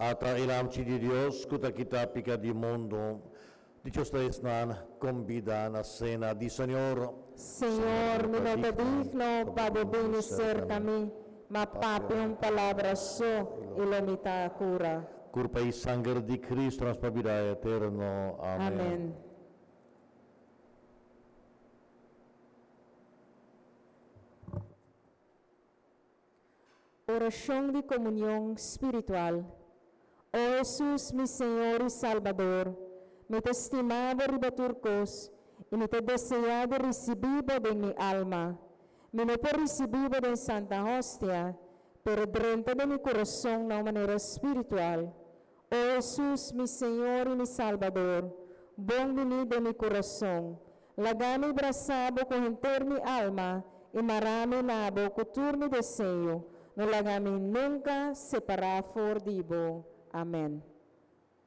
Ata e Lamchi di Dios ku ta kita piká di mundu. Dichoso ta esnan kombidá na sena di Señor. Señor, mi no ta digno pa bo bini serka mi, ma papia un palabra so i lo mi ta kura. Kurpa i sanger di Kristu nos pa bida eterno. Amèn. Amèn. Orashon di komunion spiritual. O Hesus, mi Señor i Salbador, mi ta stima bo riba tur kos i mi ta deseá di risibí bo den mi alma. Mi no por risibí bo den Santa Hostia, pero drenta den mi kurason na un manera spiritual. O Hesus, mi Señor i mi Salbador, bon biní den mi kurason. Laga mi brasa bo ku henter mi alma i mara mi na bo ku tur mi deseo. No laga mi nunka separá for di bo. Amèn.